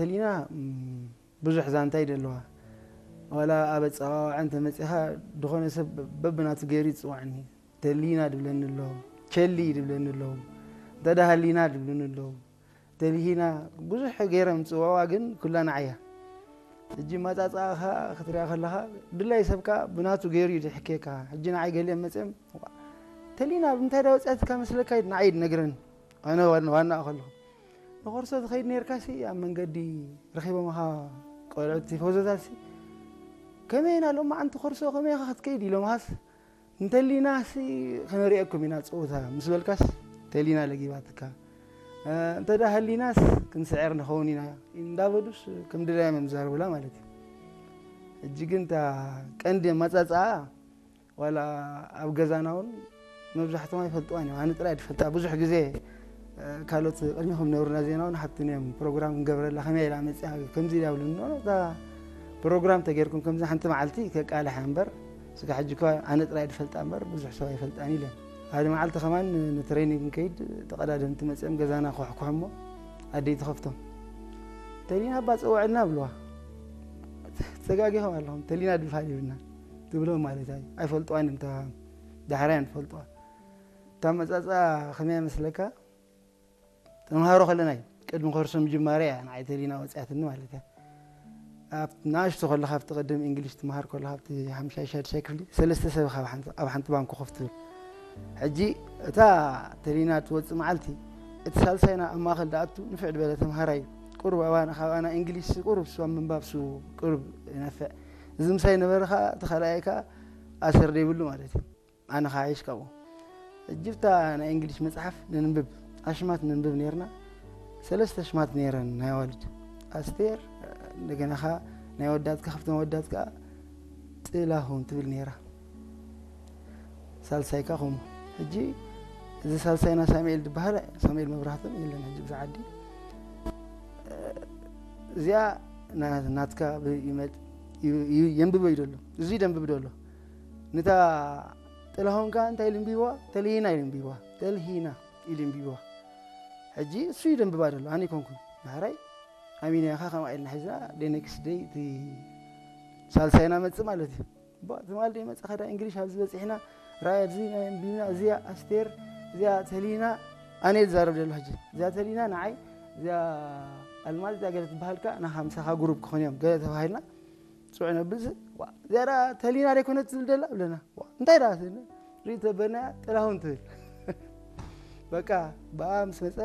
ተሊና ብዙሕ ዛንታ እዩ ደለዋ። ዋላ ኣብ ኣፀዋውዓ እንተመፂኻ ዝኾነ ሰብ በብናቱ ገይሩ ይፅዋዕኒ። ተሊና ድብለኒ ኣሎ፣ ቸሊ ድብለኒ ኣሎ፣ እንተዳሃሊና ድብልኒ ኣሎ፣ ተሊሂና ብዙሕ ገይሮም ዝፅውዕዋ ግን ኩላ ንዓያ። ሕጂ ማፃፃእኻ ክትሪኣ ከለኻ ድላይ ሰብካ ብናቱ ገይሩ እዩ ዝሕክየካ። ሕጂ ንዓይ ገሊኦም መፅኦም ተሊና ብምንታይ ዳ ወፅኣትካ መስለካ ኢሉ ንዓይ ድነግረኒ። ኣነ ዋና ከለኹ ንኾርሶ ትኸይድ ነርካሲ ኣብ መንገዲ ረኺቦምኻ ቆልዑት ቲፎዞታትሲ ከመይ ኢና ሎማዓንቲ ኮርሶ ከመይ ኢኻ ክትከይድ ኢሎምኻስ እንተሊናሲ ከነሪኤኩም ኢና ፀወታ ምስ በልካስ ተሊና ለጊባትካ እንተ ዳ ሃሊናስ ክንስዕር ንኸውን ኢና እንዳበሉስ ከም ድላዮም እዮም ዝዛረቡላ ማለት እዩ። ሕጂ ግን እታ ቀንዲ ኣመፃፅኣ ዋላ ኣብ ገዛና እውን መብዛሕቶም ኣይፈልጥዋን እዮም። ኣነ ጥራይ ድፈልጣ ብዙሕ ግዜ ካልኦት ቅድሚኹም ነብሩና ዜና እውን ሓትኒ እዮም ፕሮግራም ክንገብረላ ከመይ ኢላ መፅያ ከምዚ ኢላ ብሉኒ እታ ፕሮግራም ተጌርኩም ከምዚ ሓንቲ መዓልቲ ከቃልሐ እምበር ስጋ ሕጂ እኳ ኣነ ጥራይ ድፈልጣ እምበር ብዙሕ ሰብ ኣይፈልጣን ኢለ ሓደ መዓልቲ ከማን ንትሬኒንግ ንከይድ ተቐዳደምቲ መፅኦም ገዛና ክሕኩሖሞ ኣደይ ትኸፍቶም ተሊና ኣባ ፀውዐልና ብልዋ ተጋጊኹም ኣለኹም ተሊና ድብሃል ይብልና ትብሎም ማለት እዩ ኣይፈልጥዋን እዮም ዳሕራይ እዮም ዝፈልጥዋ እታ መፃፃ ከመይ መስለካ ተምሃሮ ከለና እዩ ቅድሚ ኮርሶ ምጅማርያ እያ ንዓይ ተሊና ወፅያትኒ ማለት እያ ኣብ ንኣሽቱ ከለካ ኣብቲ ቅድም እንግሊሽ ትምሃር ከለካ ኣብቲ ሓምሻይ ሻድሻይ ክፍሊ ሰለስተ ሰብ ኢኻ ኣብ ሓንቲ ባንኮ ኮፍ ትብል ሕጂ እታ ተሊና ትወፅእ መዓልቲ እቲ ሳልሳይና ኣብ ማእኸል ደኣቱ ንፍዕ ዝበለ ተምሃራይ ቁሩብ ኣባና ካብ ኣና እንግሊሽ ቁሩብ ሱ ኣብ ምንባብ ሱ ቁሩብ ይነፍዕ እዚ ምሳይ ነበረ ከዓ እቲ ካልኣይ ከዓ ኣሰር ዘይብሉ ማለት እዩ ኣነ ከዓ ይሽቀቦ እጅብታ ናይ እንግሊሽ መፅሓፍ ነንብብ ኣሽማት ነንብብ ነርና ሰለስተ ኣሽማት ነይረን ናይ ኣዋልድ ኣስቴር እንደገና ከዓ ናይ ወዳት ከፍቶም ወዳት ከዓ ጥላሁን ትብል ነይራ ሳልሳይ ከዓ ከምኡ ሕጂ እዚ ሳልሳይና ሳሙኤል ዝበሃል ሳሙኤል መብራህቶም የለን ሕጂ ብዛ ዓዲ እዚኣ ናትካ የንብበ እዩ ደሎ እዚ ደንብብ ደሎ ንታ ጥላሁን ከዓ እንታይ ኢሉ እንቢብዋ ተልሂና ኢሉ እንቢብዋ ተልሂና ኢሉ እንቢብዋ ሕጂ እሱ እዩ ደንብባ ደሎ ኣነ ይኮንኩን ዳሕራይ ኣሚናኻ ከምኣ ኢልና ሒዝና ደይ ኔክስት ደይ እቲ ሳልሳይና መፅእ ማለት እዩ ትማል ደይ መፅእ ከዳ እንግሊሽ ኣብዚ በፂሕና ራእይ ኣብዚ ናይ እንቢብና እዚኣ ኣስቴር እዚኣ ተልሂና ኣነ ዝዛረብ ደሎ ሕጂ እዚኣ ተልሂና ንዓይ እዚኣ ኣልማዝ እዚኣ ገለ ትበሃልካ ናኻ ምሳኻ ግሩፕ ክኾን እዮም ገለ ተባሂልና ፅዑ ነብልሲ እዚኣ ተልሂና ደይኮነት ትብል ደላ ብለና እንታይ ዳ ርኢ ተበልናያ ጥላሁን ትብል በቃ ብኣ ምስ መፀ